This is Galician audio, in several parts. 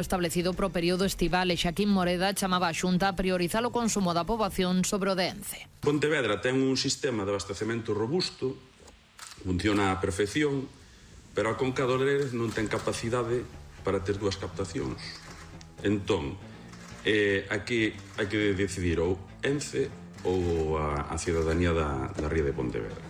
establecido para o período estival e Xaquín Moreda chamaba a Xunta a priorizar o consumo da poboación sobre o de Ence. Pontevedra ten un sistema de abastecemento robusto, funciona a perfección, pero a Conca do Lérez non ten capacidade para ter dúas captacións. Entón, aquí hai que decidir ou Ence ou a cidadanía da ría de Pontevedra.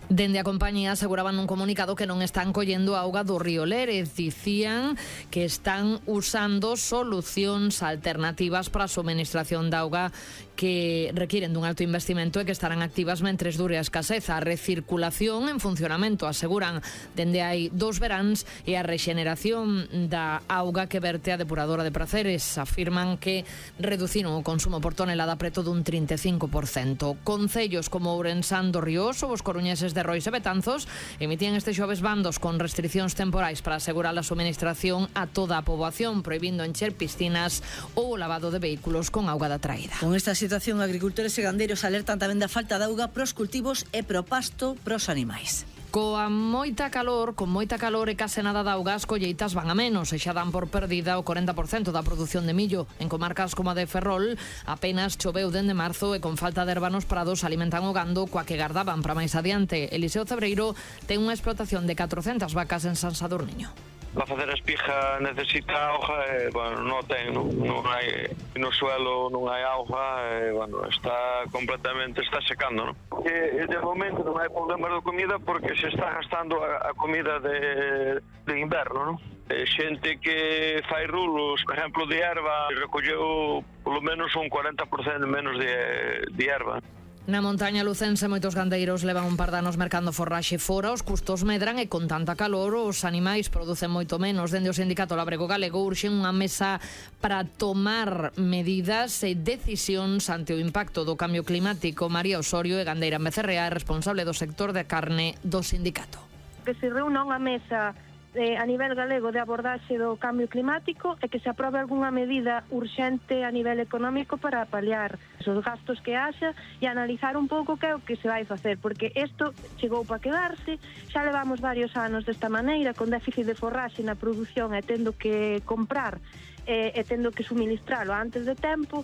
Dende a compañía aseguraban nun comunicado que non están collendo auga do río Lérez. Dicían que están usando solucións alternativas para a suministración de auga que requiren dun alto investimento e que estarán activas mentres dure a escaseza. A recirculación en funcionamento, aseguran, dende hai 2 veráns, e a rexeneración da auga que verte a depuradora de Praceres. Afirman que reduciron o consumo por tonelada preto dun 35%. Concellos como Ourensán do Rioso, os coruñeses de Rois e Betanzos emitían este xoves bandos con restriccións temporais para asegurar a suministración a toda a poboación, prohibindo encher piscinas ou o lavado de vehículos con auga da traída. Con esta situación, agricultores e gandeiros alertan tamén da falta de auga pros cultivos e pro pasto pros animais. Con moita calor e case nada de auga, as colleitas van a menos e xa dan por perdida o 40% da produción de millo. En comarcas como a de Ferrol apenas choveu dende marzo e con falta de herba nos prados alimentan o gando coa que gardaban para máis adiante. Eliseo Cebreiro ten unha explotación de 400 vacas en San Sadurniño. Para facer a espiga necesita auga e, non ten, non hai no suelo, non hai auga e, está secando, non? E de momento non hai problema de comida porque se está gastando a comida de inverno, non? Xente que fai rulos, por exemplo, de erva, recolleu polo menos un 40% menos de erva. Na montaña lucense moitos gandeiros levan un par de anos mercando forraxe fora, os custos medran e con tanta calor os animais producen moito menos. Dende o sindicato Labrego Galego urxen unha mesa para tomar medidas e decisións ante o impacto do cambio climático. María Osorio, gandeira en Becerrea, é responsable do sector de carne do sindicato. Que se reúna unha mesa a nivel galego de abordaxe do cambio climático e que se aprobe algunha medida urxente a nivel económico para paliar os gastos que haxa e analizar un pouco que é o que se vai facer, porque isto chegou para quedarse, xa levamos varios anos desta maneira, con déficit de forraxe na produción e tendo que comprar e tendo que suministralo antes de tempo.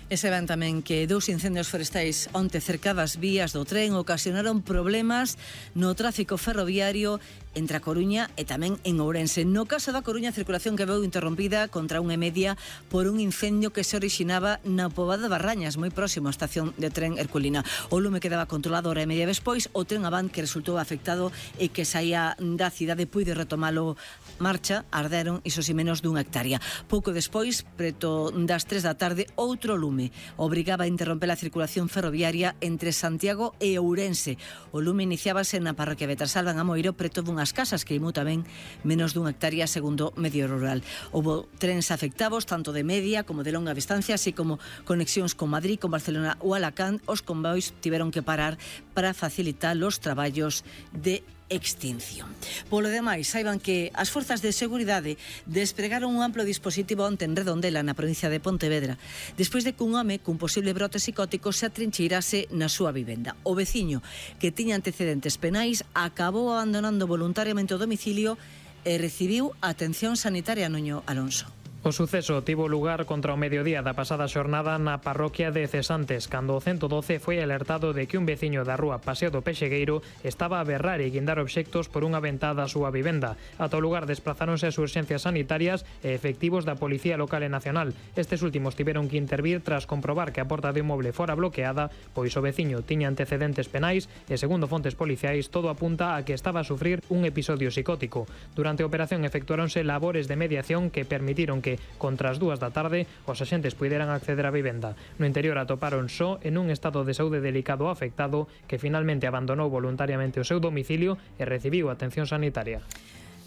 E se ven tamén que 2 incendios forestais onte cerca das vías do tren ocasionaron problemas no tráfico ferroviario entre a Coruña e tamén en Ourense. No caso da Coruña, a circulación que veu interrompida contra 1:30 por un incendio que se orixinaba na Pobada de Barrañas, moi próximo á estación de tren Herculina. O lume quedaba controlado hora e media despois. O tren Avant, que resultou afectado e que saía da cidade, puide retomalo marcha, arderon iso si menos dunha hectárea. Pouco despois, preto das 3 da tarde, outro lume obrigaba a interromper a circulación ferroviaria entre Santiago e Ourense. O lume iniciábase na parroquia Betarsalva, en Amoiro, preto dunhas casas que queimou tamén menos dunha hectárea, segundo Medio Rural. Houbo trens afectados, tanto de media como de longa distancia, así como conexións con Madrid, con Barcelona ou Alacant. Os convois tiveron que parar para facilitar os traballos de extinción. Polo demais, saiban que as forzas de seguridade despregaron un amplo dispositivo onte en Redondela, na provincia de Pontevedra, despois de que un home cun posible brote psicótico se atrincheirase na súa vivenda. O veciño, que tiña antecedentes penais, acabou abandonando voluntariamente o domicilio e recibiu atención sanitaria. Nuño Alonso. O suceso tivo lugar contra o mediodía da pasada xornada na parroquia de Cesantes, cando o 112 foi alertado de que un veciño da rúa Paseo do Pexegueiro estaba a berrar e guindar obxectos por unha ventada á súa vivenda. Ata o lugar desplazáronse as urxencias sanitarias e efectivos da Policía Local e Nacional. Estes últimos tiveron que intervir tras comprobar que a porta do inmoble fora bloqueada, pois o veciño tiña antecedentes penais e, segundo fontes policiais, todo apunta a que estaba a sufrir un episodio psicótico. Durante a operación efectuáronse labores de mediación que permitiron que contra as 2 da tarde os axentes puideran acceder á vivenda. No interior atoparon só en un estado de saúde delicado afectado, que finalmente abandonou voluntariamente o seu domicilio e recibiu atención sanitaria.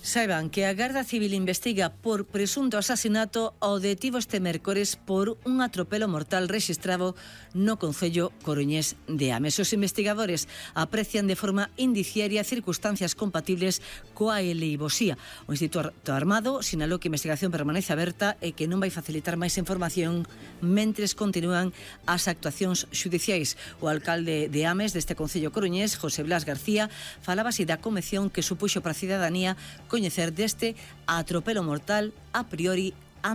Saiban que a Garda Civil investiga por presunto asasinato ao detivo este mércores por un atropelo mortal rexistrado no concello coruñés de Ames. Os investigadores aprecian de forma indiciaria circunstancias compatibles coa eleivosía. O Instituto Armado sinalou que a investigación permanece aberta e que non vai facilitar máis información mentres continúan as actuacións xudiciais. O alcalde de Ames deste concello coruñés, José Blas García, falaba así da conmoción que supuxo para a cidadanía coñecer deste atropelo mortal a priori